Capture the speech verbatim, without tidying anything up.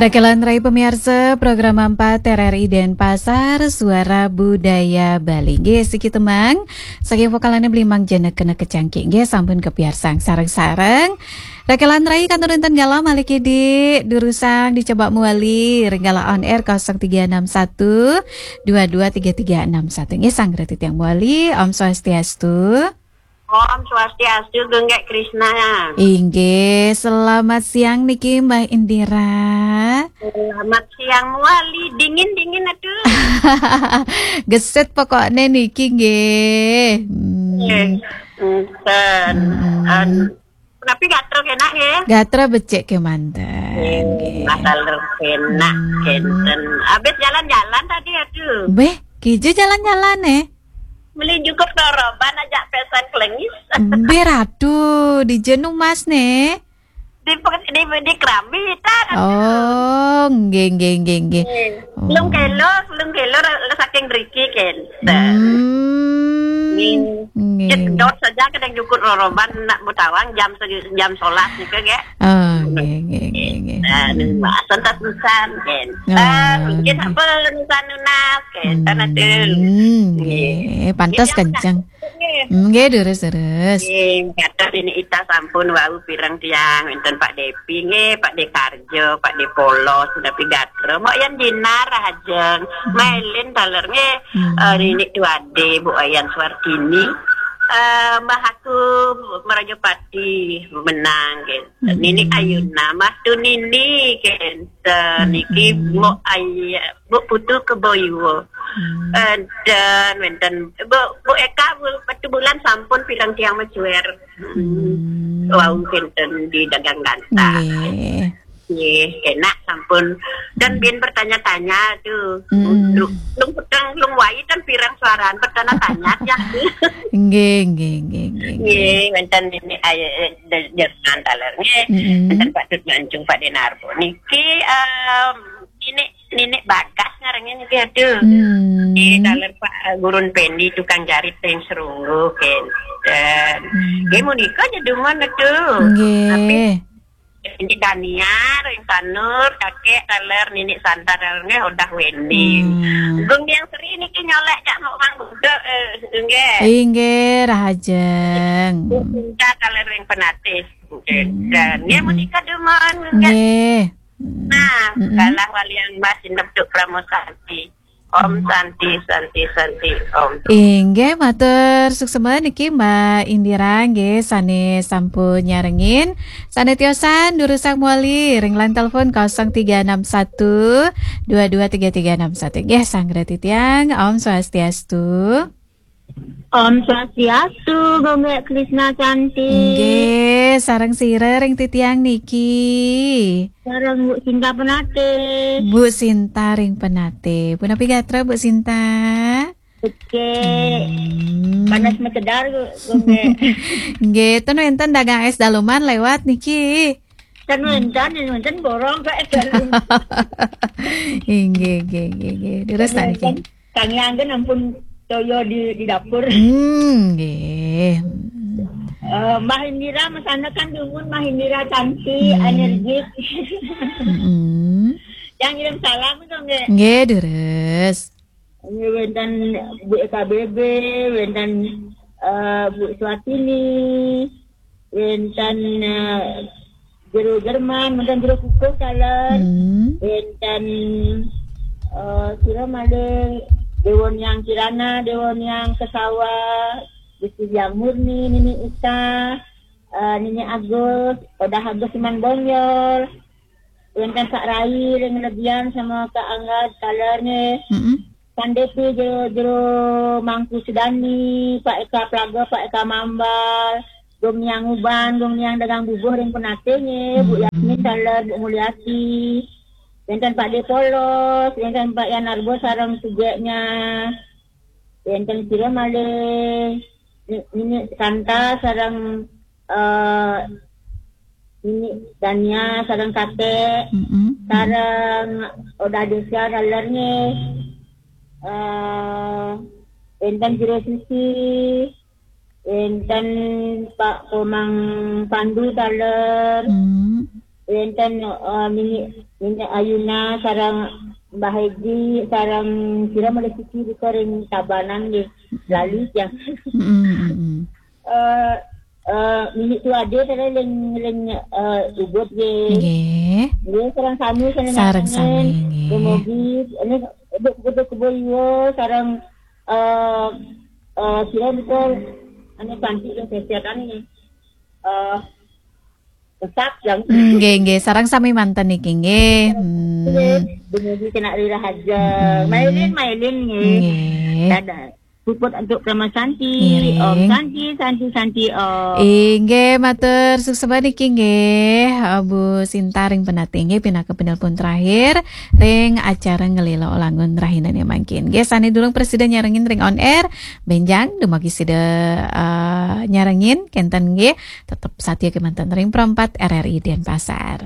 Rakelan rai pamiarsa, program empat R R I Denpasar, Suara Budaya Bali. Nggih, siki tembang saking vokalane Blimang Jenekene Kecangkik. Nggih, sampun kapiarsang sareng-sareng. Rakelan rai kantun wenten galah malih kidi, durusang dicoba mawali ring galah on air kosong tiga enam satu dua dua tiga tiga enam satu. Nggih, sareng titiang mawali, Om Swastiastu. Om Swastiastu, Gung Gek Krisna. Inggih, selamat siang niki Mbak Indira. Selamat siang mawali, dingin-dingin aduh. Gesit pokokne niki nggih. Hmm. Nggih, enten. Hmm. An-, tapi gatra kenak nggih. Gatra becik kemanten. Nggih, nggih. Masalah kenak, hmm, kenten. Habis jalan-jalan tadi aduh. Beh, kija jalan-jalan eh? Beli jukur roroban ajak pesan kelengis. Beh, ratu, di jenu mas ne. Di, di, di Kerambi, ta. Oh, nggih, nggih, nggih, nggih. Nggih. Oh. Telung kilo, telung kilo ra-, saking mriki, kenten. Hmm. Nggih. Nggih. Jedot saja kadang jukur roroban nak mutawang jam se-, jam sebelas nika, nggih. Oh, nggih, nggih, nggih, nggih. Nah, hmm, nunggu asan tas nusan, kenten. Oh, nggih, nggih. Apa nusan nunas, kenten, hmm, aduh. Nggih, nggih. Pantes nggih, kenceng. Nggih. Hmm, nggih, terus, terus. Nggih, kata ini ita sampun wau pirang tiang, wenten Pak Depi, nggih, Pak Dekarjo, Pak Depolo, sudah pidato. Mbok Yan Jinar, Rahajeng, hmm, Mailin, taler, nggih, hmm, eh, Nini Tuade, Bu Ayan Suartini, eh, Mbah Aku, Merajapati, Menang, nggih. Hmm. Nini Ayuna, Mbah Tu Nini, nggih. Dan niki, hmm, Mbok Aya, Mbok Putu Keboiwo. Hmm. Eh, dan wenten Mbok, Mbok Eka, Mbok Batu Bulan sampun pirang tiang macuer. Hmm. Hmm. Wau wenten di dagang ganta. Nggih. Nggih, enak sampun. Dan, hmm, bin bertanya-tanya tuh. Hmm. Lu, lu peteng, lu wai kan pirang suaraan bertanya-tanya ya. Nggih, nggih, nggih, nggih, nggih. Nggih, wenten ini, ay-, eh, de-, Jerman taler nggih. Mm-mm. Wenten Pak Dut Mancung, Pak Denarbo. Niki, em, ini, Nini Bagas ngarengin niki, aduh. Hmm. Nggih, taler Pak, eh, Gurun Pendi, tukang jarit ring Serunggu, kenten. Hmm. Nggih, munika aja dumun, aduh. Nggih. Tapi Indi Daniar, ring Sanur, kakek, taler, Nini Santa, taler, nggih, Odah Wendy. Hmm. Gung Yang Sri niki nyolek cak mau mang budek, eh, nggih. Inggih, rahajeng. Bu Sinta, taler, ring Penatih. Hmm. Dan, nggih, hmm, munika dumun, nggih. Nggih. Nah, mm-mm, galah walian Mbah Sinep Duk Pramosanti. Om Santi, Santi, Santi, Om. Inggih, matur suksma niki Mbak Indira nggih sane sampun nyarengin. Sane tiosan durusang mawali ring line telepon kosong tiga enam satu dua dua tiga tiga enam satu. Nggih, sareng titiang, Om Swastiastu. Om Swastiastu, Gung Gek Krisna Santi. Nggih, sareng sira ring titiang niki. Sareng Bu Sinta Penatih. Bu Sinta ring Penatih. Punapi gatra, Bu Sinta? Oke. Hmm. Panas macedar, Gung Gek. Nggih, ten wenten dagang es daleman lewat niki. Ten wenten, ten wenten borong kok es daleman. Inggih, nggih, nggih, nggih. Terus ten wenten niki. Kang Yang kan ampun toyo di, di dapur. Hmm, nggih. Eh, Mbah Indira, masana kan dumun, Mbah Indira cantik, hmm, energik. Mm-mm. Yang ngirim salam itu nggih. Nggih, deres. Nggih, wenten Bu E K B B, wenten, eh, Bu Swatini, wenten, eh, Jero Jerman, wenten Jero Kukuh, taler. Hmm. Wenten, eh, sira malih Dewa Niang Kirana, Dewa Niang Kesawa, Gusti Hyang Murni, Nini Uta, eh, Nini Agus, Odah Agus Iman Bonjol, wenten Pak Rai, ring Lebian, sama Kak Angga, taler nggih. Mm-mm. Sandepi jero, jero Mangku Sudani, Pak Eka Plaga, Pak Eka Mambal, Gung Niang Uban, Gung Niang Dagang Bubuh ring Penatih nggih, Bu, hmm, Yasmin taler, Bu Mulyati. Wenten Pak De Polos, wenten Pak Yan Arbo sareng sugeknya. Wenten sira malih Ni-, Nini Santa sareng, eh, Nini Dania sareng kakek, mm-mm, sareng Oda Desa taler nggih. Eh, wenten Jero Susi, wenten Pak Komang Pandu taler, mm, wenten, eh, Nini Nenek Ayuna sareng Mbah Edi sareng sira malih siki buka ring Tabanan nggih. Lali tiang. Mm-mm, mm-mm. Eh eh Nini Tu Ade sareng ring ring eh Ubud nggih. Nggih. Nggih sareng sami sareng Sareng nyanyi. Sami nggih. Dumugi ini Beduk Beduk Kebo Iwa sareng eh eh sira buka anu cantik yang sesetan ini. Eh Besar yang Nggih, nggih, sareng sami manten niki nggih. Hmm. Dumugi kena rira haja. Hmm. Mailin, mailin nggih. Nggih. Dadah. Puput untuk Krama Santi. Ngiring. Om Santi, Santi, Santi, Om. Inggih, matur suksma niki nggih, Bu Sinta ring Penatih nggih, pinaka penelpon terakhir ring acara Ngelila Langun rahinane mangkin. Nggih, sane durung prasida nyarengin ring on air, benjang dumugi sida eh, nyarengin kenten nggih, tetep satia kemanten ring Pro empat R R I Denpasar.